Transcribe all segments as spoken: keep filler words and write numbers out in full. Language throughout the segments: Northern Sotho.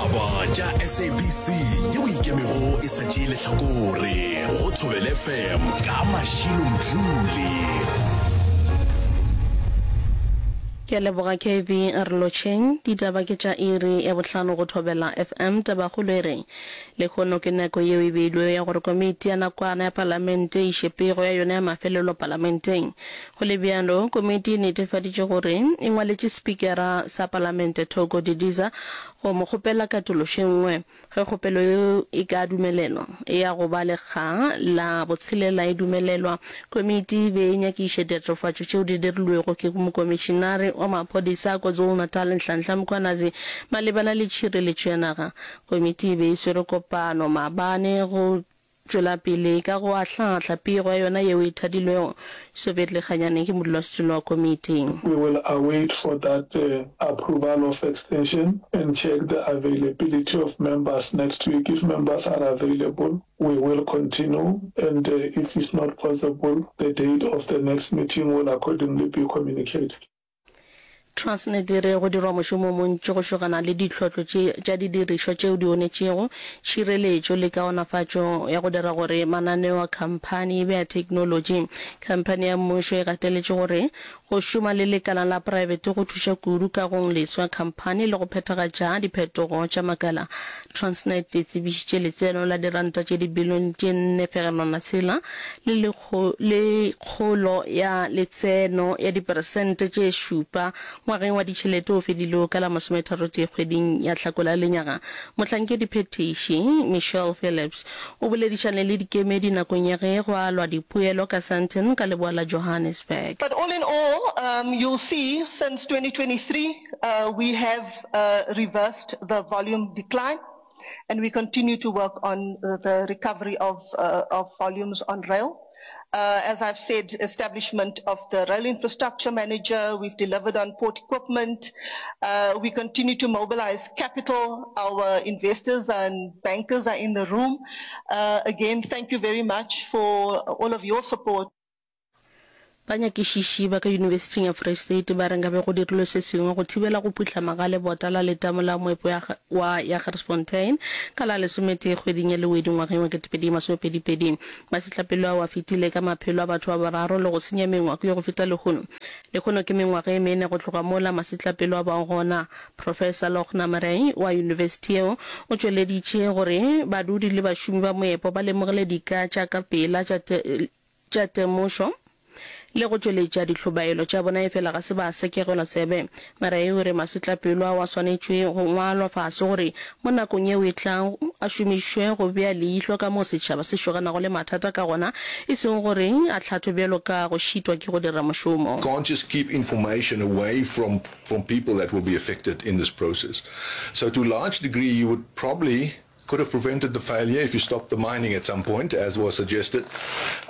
Ditaba tša S A B C yeo e ikemego e sa tšee lehlakore go Thobela F M ka Mashilo Mdluli. Ke a leboga K V re lotšheng. Ditaba ke tša iri ya bohlano go Thobela F M. Tabakgolo e re lehono ke nako yeo e beilwego ya gore komiti ya nakwana ya palamente e iše pego ya yona ya mafelelo palamenteng. Go le bjalo, komiti e netefaditše gore e ngwaletše Spikara sa Palamente Thoko Didiza go mo kgopela katološo e nngwe. Ge kgopelo yeo e ka dumelelwa, e ya go ba lekga la botshelela e dumelelwa. Komiti e be e nyakiša ditatofatšo tšeo di dirilwego ke Mokomišinare wa Maphodisa a KwaZulu-Natal Nhlanhla Mkhwanazi malebana le tšhireletšo ya naga. Komiti e be e swere kopano maabane go tšwela pele ka go ahlaahla pego ya yona yeo e thadilwego. Soviet Lekganyane ke modulasetulo wa komiti. We will await for that approval of extension and check the availability of members next week. If members are available, we will continue and if it's not possible, the date of the next meeting will accordingly be communicated. Transnet e re go dirwa mošomo o montši go šogana le ditlhotlo tše tša didirišwa tšeo di onetšego, tšhireletšo le kaonafatšo ya go dira gore mananeo a khamphani e be a theknolotši. Khamphani ya mmušo e gateletše gore go šoma le lekala la praebete go thuša kudu kagong leswa ya khamphani le go phethagatša diphetogo tša makala. Transnet e tsebišitše letseno la diranta tše dibilione tše nne fegelwana tshela le le kgolo ya letseno ya diperesente tše šupa ngwageng wa ditšhelete o fedilego ka la masometharotee kgweding ya Hlakola lenyaga. Mohlankediphethiši Michelle Phillips o boledišane le dikemedi nakong ya ge go alwa dipoelo ka Sandton ka leboa la Johannesburg. But all in all, um, you'll see since twenty twenty-three, uh, we have uh, reversed the volume decline and we continue to work on the recovery of, uh, of volumes on rail. Uh, as I've said, establishment of the rail infrastructure manager, we've delivered on port equipment. Uh, we continue to mobilize capital. Our investors and bankers are in the room. Uh, again, thank you very much for all of your support. Banyakišiši ba ka Yunibesithing ya Free State ba re nkabe go dirilwe se sengwe go thibela go phuhlama ga lebota la letamo la moepo ya wa Jagersfontein ka la lesometee kgweding ya Lewedi ngwageng wa ketepedi masomepedi pedi. Masetlapelo ao a fetile ka maphelo a batho ba bararo le go senya mengwako ye go feta lehono. Lehono ke mengwaga e mene go tloga mola masetlapelo a bago gona. Professor Lochna Murray wa yunibesithi yeo o tšweleditše gore badudi le bašomi ba moepo ba lemogile dika tša ka pela tša tša temošo le go tšweletša dihlobaelo tša bona efela ga se ba sekegelwa tsebe. Murray o re masetlapelo ao a swanetšwe go ngwalwa fase gore mo nakong yeo e tlago a šomišwe go bea leihlo ka moo setšhaba se šoganago le mathata ka gona e seng gore a hlathwe bjalo ka go šitwa ke go dira mošomo. Can't just keep information away from from people that will be affected in this process. So to a large degree you would probably could have prevented the failure if you stopped the mining at some point, as was suggested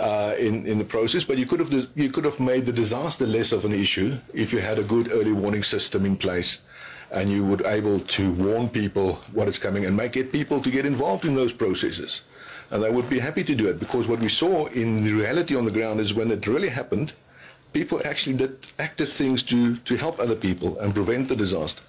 uh, in, in the process. But you could have you could have made the disaster less of an issue if you had a good early warning system in place, and you were able to warn people what is coming and make get people to get involved in those processes. And they would be happy to do it because what we saw in the reality on the ground is when it really happened, people actually did active things to, to help other people and prevent the disaster.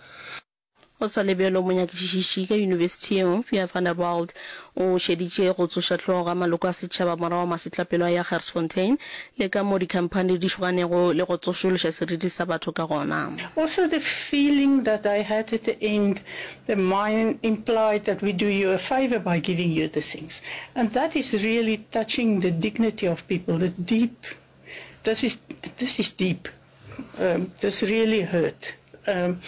Go sa le bjalo, monyakišiši ka yunibesithi yeo, Pierre van der Walt, o šeditše go tsoša hlogo ga maloko a setšhaba morago ga masetlapelo a Jagersfontein le ka moo dikhamphani di šoganego le go tsošološa seriti sa batho ka gona. Also the feeling that I had at the end, the mine implied that we do you a favor by giving you the things. And that is really touching the dignity of people, the deep, this is, this is deep. Um, this really hurt. Um,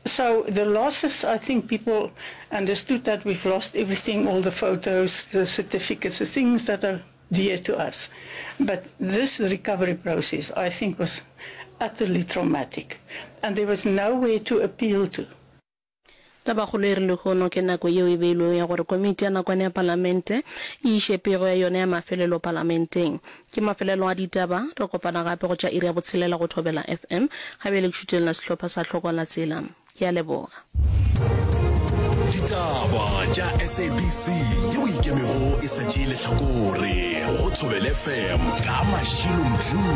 so the losses, I think people understood that we've lost everything, all the photos, the certificates, the things that are dear to us. But this recovery process, I think, was utterly traumatic. And there was nowhere to appeal to. Tabakgolo e re lehono ke nako yeo e beilwego ya gore komiti ya nakwana ya palamente e iše pego ya yona ya mafelelo palamenteng. Ke mafelelo a ditaba, re kopana gape go tša iri ya botshelela go Thobela F M. Ga bjale ke šutelela sehlopha sa Hlokwa la Tsela. Ke a leboga. Ditaba tša S A B C yeo e ikemego e sa tšee lehlakore go Thobela F M ka Mashilo Mdluli.